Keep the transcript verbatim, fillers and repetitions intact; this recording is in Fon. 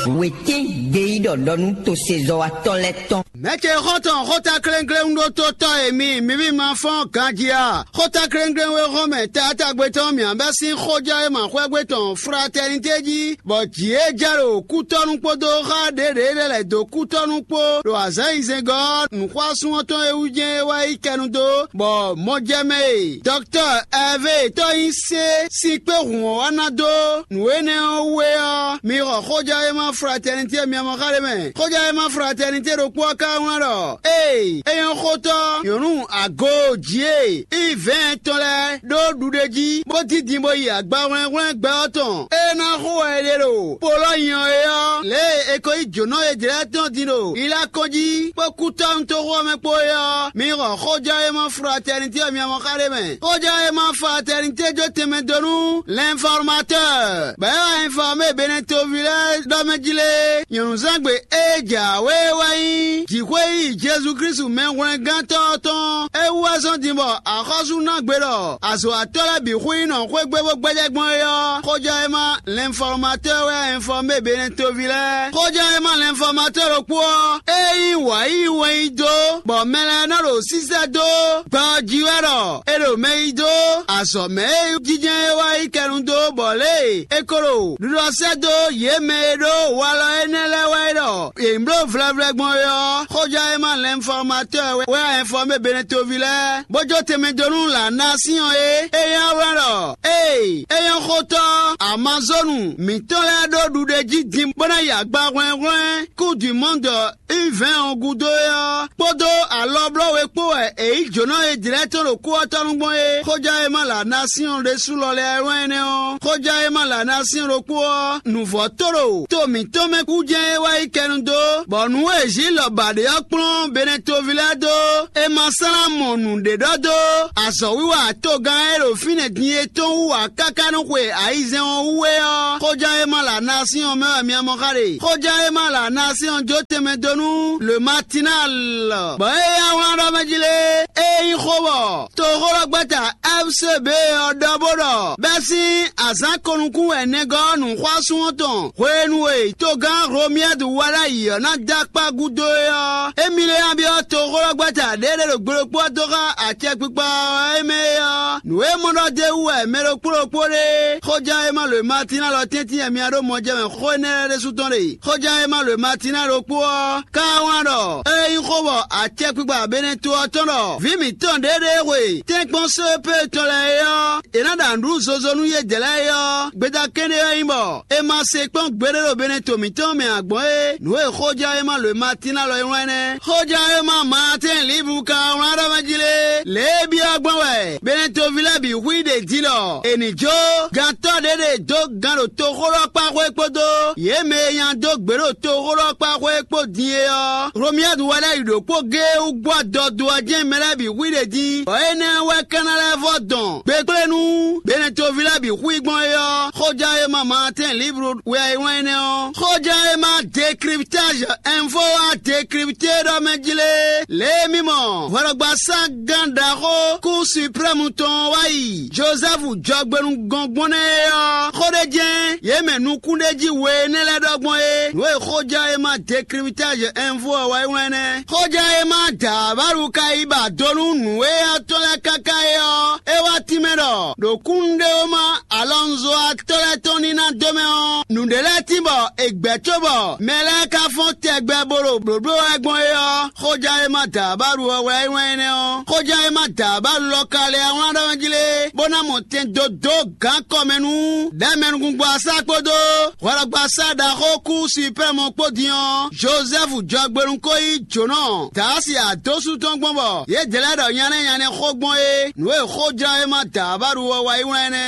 Wětɛ́n gbeyíɖɔ ɖɔ nú tosezɔ́watɔ́ lɛ́ɛ tɔn. Mɛ̌ ce xɔ́ntɔn xóta kléŋkléŋ ɖó tó tɔ́ e mi mǐ mì ma fɔ́n ganjí a? Xóta kléŋkléŋ e hɔn mɛ taatagbe tɔn mǐ bɛ́ sín xójɔ e ma xwɛ́gbe tɔn fratɛnité jí, bɔ jǐ e jɛ ɖo kútɔ́nú kpódó xá ɖěɖě lɛ́ lɛ̌ dó kútɔ́nú kpó ɖo azǎn nyizeŋgɔ́ ɔ́, nǔxwásún ɔ́ tɔn e wú jɛ́n é wá yi kɛnu dó, bɔ mɔjɛmɛ e dɔktɔ́ Ɛvée tɔ́ nyi sé sín kpé hǔn ɔ́ wá ná dó nǔ énɛ́ ɔ́ wú é ɔ́, mi xɔ xójɔ́ e ma fratɛnité myamɔ́ xa ɖé mɛ. Xójɔ́ e ma fratɛnité ɖokpó ɔ́ ka wlán ɖɔ: Ée é nyɔ́ xótɔ́ nyɔ̌nu ago jí e Ivɛ́ɛn tɔn lɛ́ɛ ɖó ɖuɖé jí, bó dín din bó yi agbahwlɛ́nhwlɛ́n gbɛ ɔ́ tɔn. É ná xo wɛ è ɖe ɖo Polɔ́nyɔ é ɔ́, lě e è ko yí jǒnɔ e jlɛ́ tɔn din ɖo Ilakɔn jí kpó kútɔ́ toxo ɔ́ mɛ kpó é ɔ́, mi xɔ xójɔ́ e ma fratɛnité ɔ́ myamɔ́ xa ɖé mɛ. Xójɔ́ e ma fratɛnité jó tɛnmɛ dó nú l'informateur, bɔ é wá informé Benɛtoví lɛ́ɛ ɖɔ mɛ jí lé. Nyɔ̌nuzɛ́ngbe e jǎwe wɛ nyí jǐxwé yi Jezu Klísu mɛhwlɛ́ngántɔ́ ɔ́ tɔn. É wú wɛ zɔ́n din bɔ axɔ́sú ná gbe ɖɔ azɔ̌watɔ́ lɛ́ɛ bǐ xwíí nɔ xwé gbe bó gbɛ́jɛ́ gbɔn é ɔ́, xójɔ́ e ma l'informateur wɛ informé Benɛtoví lɛ́ɛ. Xójɔ́ e ma l'informateur ɖokpó ɔ́, é nyí wǎ yí wɛn yí dó, bɔ mɛ lɛ́ɛ nɔ ɖo sísɛ́ dó gbɛ ɔ́ jí wɛ ɖɔ è ɖo mɛ yí dó azɔ̌ mɛ e jínjɔ́n é wá yi kɛnu dó, bɔ lě e è ko ɖo ɖiɖɔ sɛ́ dó yě mɛ e ɖó walɔ énɛ́ lɛ́ɛ wɛ é ɖɔ yě nyí bló vlɛvlɛ gbɔn é ɔ́, xójɔ́ e ma l'informateur wɛ wɛ a informé Benɛtoví lɛ́ɛ, bó jó tɛnmɛ dó nú la nation e é nyí wlán ɖɔ: Ée é nyɔ́ xótɔ́ Amazonu mǐtɔn lɛ́ɛ ɖó ɖuɖé jí din bó ná yi agba hwlɛ́nhwlɛ́n Coupe du Monde U vɛ́ɛn ɔ́ gúdo é ɔ́, kpódó alɔblɔ́ we kpó wɛ è yí jǒnɔ e jlɛ́ tɔn ɖo kú ɔ́ tɔ́ nú gbɔn é. Xójá e ma la nasiɔn ɖésú lɔ lɛ́ɛ wɛ nyí énɛ́ ɔ́. Xójá e ma la nasiɔn ɖokpó ɔ́, nǔvɔ́ tó ɖo to mǐtɔn mɛ kú jɛ́n é wá yi kɛnu dó, bɔ nǔ e Zilɔ ba ɖě ɔ́ kplɔ́n Benɛtoví lɛ́ɛ dó. È ma slán mɔ nǔɖé ɖɔ dó azɔ̌wiwa togán e ɖo fínɛ́ din é tɔn wú ǎ káká nú xwe ayizɛ́n ɔ́ wú é ɔ́, xóján e ma la nasiɔn mɛ wɛ mi mɔ xa ɖe. Xóján e ma la nasiɔn jó tɛnmɛ dó nú le matinal, bɔ é yá wlán ɖɔ mɛ jí lé. É nyí xó bɔ toxóɖɔgbɛ́ta F C B ɔ́ ɖɔ bó ɖɔ bɛ́ sín azǎn ko nukún wɛ nɛgɔ́ nǔxwásún ɔ́ tɔn hwenu e togán Romiɛ́du wá ɖ'ayǐ ɔ́ ná dó akpá gúdo é ɔ́, émí lɛ́ ná byɔ́ toxóɖɔgbɛ́ta ɖěɖé ɖo gbe ɖokpó ɔ́ dó xá acɛkpikpa ɔ́ é mɛ é ɔ́, nǔ e mɔ ɖɔ d'é wú wɛ mɛ ɖokpó ɖokpó ɖe. Xóján e ma lo e Matína lɔ tɛ́ntin wɛ mi ɖó mɔjɛmɛ xó énɛ́ lɛ́ɛ ɖésú tɔn ɖe. Xóján e ma lo e Matína ɖokpó ɔ́, ká wlán ɖɔ: É nyí xó bɔ acɛkpikpa Benɛto ɔ́ tɔn ɖɔ vǐ mǐtɔn ɖěɖée hwe tɛ́nkpɔ́n só e pé tɔn lɛ́ɛ é ɔ́, è nǎ ɖa nǔɖuɖu zozo nú yědɛɛ lɛ́ɛ é ɔ́, gbeta kɛ́ɖé ɔ́ nyí bɔ è ma se kpɔ́n gbeɖé ɖo Benɛto mǐtɔn mɛ ǎ gbɔn é. Nǔ e xóján e ma lo e Matína lɔ é wlán nɛ́. Xóján e ma Maatɛ́n Libu ka wlán ɖɔ mɛ jí lé, lě e byɔ́ gbɔn wɛ Benɛtoví lɛ́ɛ bǐ hu i ɖě jí ɖɔ è nǐ jó gantɔ́ ɖě ɖe dó gan ɖo toxóɖɔkpáxwé kpódó yě mɛ e nya dó gbě ɖo toxóɖɔkpáxwé kpó din é ɔ́, Hlomyɛ́du wɛ lɛ́ɛ yi ɖokpó géé wú gbɔ dɔdó ɔ́ jɛ́n mɛ lɛ́ɛ bǐ hu i ɖě jí, bɔ énɛ́ wɛ ka ná lɛ́ vɔ́ dɔn gbekplé nú Benɛtoví lɛ́ɛ bǐ hu i gbɔn é ɔ́, xóján e ma Maatɛ́n Libu wɛ é wlán énɛ́ ɔ́. Xóján e ma Décryptage Info wá décrypté ɖɔ mɛ jí lé, lě e mì mɔ hwɛɖɔgbasá gán ɖaxó kú suprême tɔn wá yi Jozɛ́fu jɔgbenu gɔn gbɔn nɛ́ é ɔ́, xó ɖé jɛ́n yě mɛ nukún ɖé jí we énɛ́ lɛ́ɛ ɖɔ gbɔn é. Nǔ e xóján e ma Décryptage Info ɔ́ wá yi wlán nɛ́. Xóján e ma Dǎbálu ka yi ba do nú nǔ e ɔ́ tɔn lɛ́ɛ káká é ɔ́, é wá tínmɛ ɖɔ ɖo kúnnuɖewóma Alɔnzo atɔ́ lɛ́ɛ tɔn ní ná dó mɛ ɔ́, nǔɖé lɛ́ɛ tín bɔ è gbɛ̌ cóbɔ mɛ lɛ́ɛ ka fɔ́n tɛgbɛ bó ɖo blǒbló wɛ gbɔn é ɔ́, xóján e ma da abálu ɔ́ wɛ é wɛn énɛ́ ɔ́. Xóján e ma da abálu lɔ ka lɛ́ wlán ɖɔ jí lé, bó ná mɔ tɛn dó dó gǎn kɔ mɛ nú ɖɛ̌mɛnukúngbɔ asá kpódó hwɛɖɔgbasá ɖaxó kú Suprɛ́mu kpó din ɔ́, Jozɛ́fu jɔgbenu ko yí jǒnɔ Daasi adósú tɔn gbɔn bɔ yě dlɛ́ ɖɔ nyanɛ́ nyanɛ́ xó gbɔn é. Nǔ e xóján e ma da abálu ɔ́ wá yi wlán énɛ́.